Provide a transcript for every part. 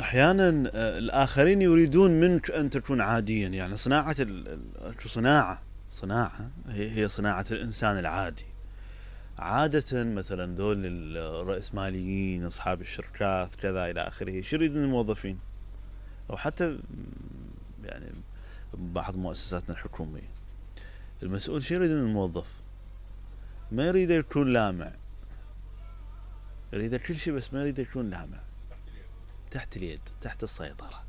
احيانا الاخرين يريدون منك ان تكون عاديا، يعني صناعة صناعة هي صناعة الانسان العادي. عادة مثلا ذول الرأسماليين اصحاب الشركات كذا الى اخره، شو يريدون الموظفين؟ او حتى يعني بعض مؤسساتنا الحكومية، المسؤول شو يريد من الموظف؟ ما يريد يكون لامع، يريد كل شيء بس ما يريد يكون لامع، تحت اليد، تحت السيطرة،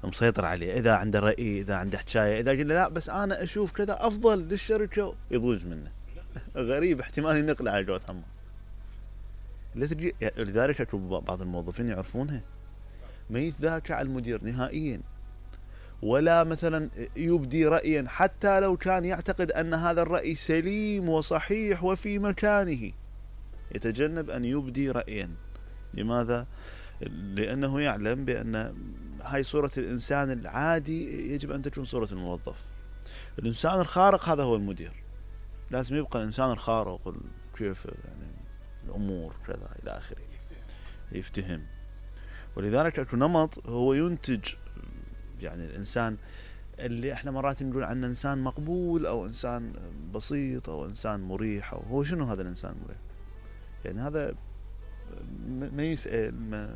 مسيطر عليه. اذا عنده رأي، اذا عنده حكاية، اذا قال لا بس انا اشوف كذا افضل للشركة، يضوج منه. غريب، احتمال ينقله على جوة همه. لذلك اكو بعض الموظفين يعرفونها، ما يتذاكى على المدير نهائيا، ولا مثلا يبدي رأيا حتى لو كان يعتقد ان هذا الرأي سليم وصحيح وفي مكانه، يتجنب ان يبدي رأيا. لماذا؟ لانه يعلم بان هاي صورة الانسان العادي يجب ان تكون صورة الموظف. الانسان الخارق هذا هو المدير، لازم يبقى الانسان الخارق، كيف يعني الامور كذا الى اخره، يفتهم. ولذلك اكو نمط هو ينتج يعني الانسان اللي احنا مرات نقول عنه انسان مقبول او انسان بسيط او انسان مريح. او هو شنو هذا الانسان المريح؟ يعني هذا ما يسأل، ما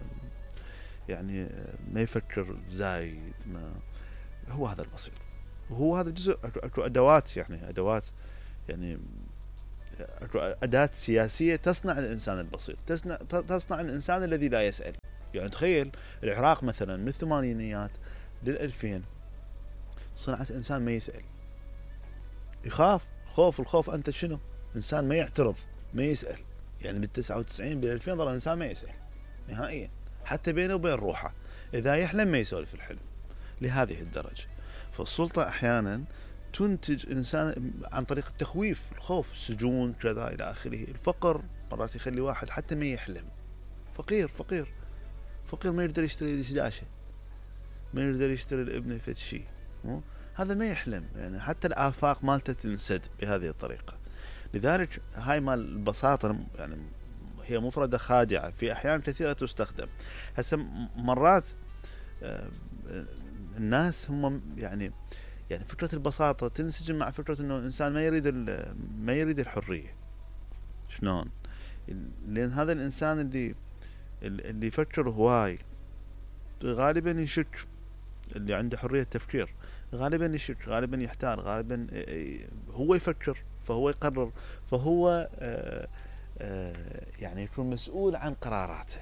يعني ما يفكر زايد، ما هو هذا البسيط. وهو هذا جزء، اكو ادوات، يعني ادوات، يعني اكو اداة سياسية تصنع الانسان البسيط، تصنع الانسان الذي لا يسأل. يعني تخيل العراق مثلا من الثمانينيات لل2000 صنعت انسان ما يسأل، يخاف. الخوف انت شنو؟ انسان ما يعترض، ما يسأل. يعني بال99 بال2000 ظل الانسان ما يسأل نهائيا، حتى بينه وبين روحه، اذا يحلم ما يسولف الحلم، لهذه الدرجة. فالسلطة احيانا تنتج انسان عن طريق التخويف، الخوف، السجون كذا الى اخره. الفقر مرات يخلي واحد حتى ما يحلم. فقير ما يقدر يشتري دشداشة، ما يقدر يشتري لابنه فد شيء، هذا ما يحلم. يعني حتى الآفاق مالته تنسد بهذه الطريقة. لذلك هاي مال البساطة يعني هي مفردة خادعة في أحيان كثيرة تستخدم. هسه مرات الناس هم يعني فكرة البساطة تنسجم مع فكرة انه الانسان ما يريد الحرية. شلون؟ لان هذا الانسان اللي يفكر هواي غالبا يشك، اللي عنده حرية تفكير غالبا يشك، غالبا يحتار، غالبا هو يفكر فهو يقرر، فهو يعني يكون مسؤول عن قراراته،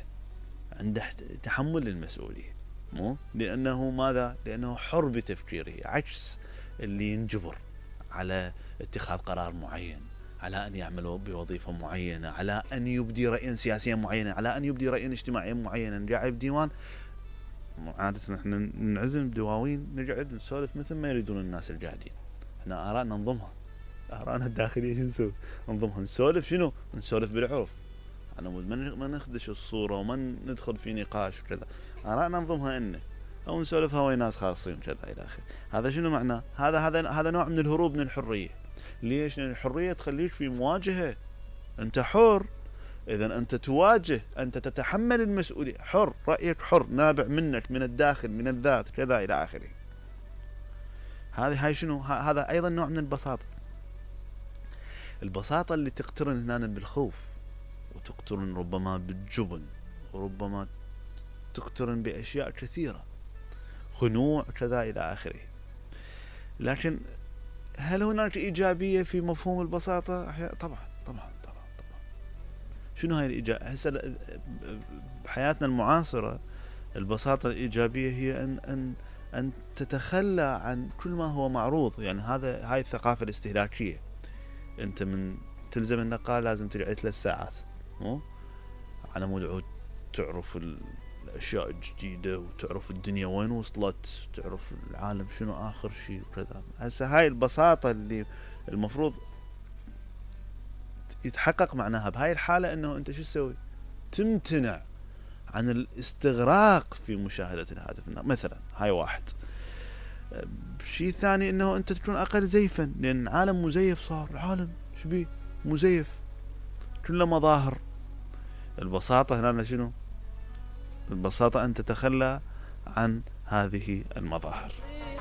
عنده تحمل المسؤولية. مو لأنه ماذا؟ لأنه حر بتفكيره، عكس اللي ينجبر على اتخاذ قرار معين، على أن يعمل بوظيفة معينة، على أن يبدي رأيا سياسيا معينا، على أن يبدي رأيا اجتماعيا معينا. قاعد بديوان عادة احنا ننعزم بدواوين، نقعد نسولف مثل ما يريدون الناس القاعدين. احنا آرائنا ننظمها، آرائنا الداخلية شو نسوي؟ ننظمها. نسولف شنو؟ نسولف بالعرف، على مود ما نخدش الصورة وما ندخل في نقاش وكذا. آرائنا ننظمها إنه، أو نسولفها ويا ناس خاصين كذا إلى آخره. هذا شنو معناه؟ هذا نوع من الهروب من الحرية. ليش؟ لأن الحرية تخليك في مواجهة، أنت حر، إذا أنت تواجه، أنت تتحمل المسؤولية، حر، رأيك حر، نابع منك، من الداخل، من الذات كذا إلى آخره. هاي شنو؟ هذا أيضا نوع من البساطة. البساطة اللي تقترن هنا بالخوف، وتقترن ربما بالجبن، وربما تقترن بأشياء كثيرة، خنوع كذا إلى آخره. لكن هل هناك إيجابية في مفهوم البساطة؟ طبعا. شنو هاي الإيجابية؟ هسه بحياتنا المعاصرة البساطة الإيجابية هي أن تتخلى عن كل ما هو معروض. يعني هاي الثقافة الاستهلاكية. أنت من تلزم النقال لازم تقعد 3 ساعات على مود عود تعرف الأشياء الجديدة، وتعرف الدنيا وين وصلت، تعرف العالم شنو آخر شيء وكذا. هسه هاي البساطة اللي المفروض يتحقق معناها بهاي الحالة انه انت شو تسوي؟ تمتنع عن الاستغراق في مشاهدة الهاتف مثلا. هاي واحد. شيء ثاني انه انت تكون اقل زيفا، لان العالم مزيف صار، العالم شبيه مزيف، كله مظاهر. البساطة هنا شنو؟ البساطة أن تتخلى عن هذه المظاهر.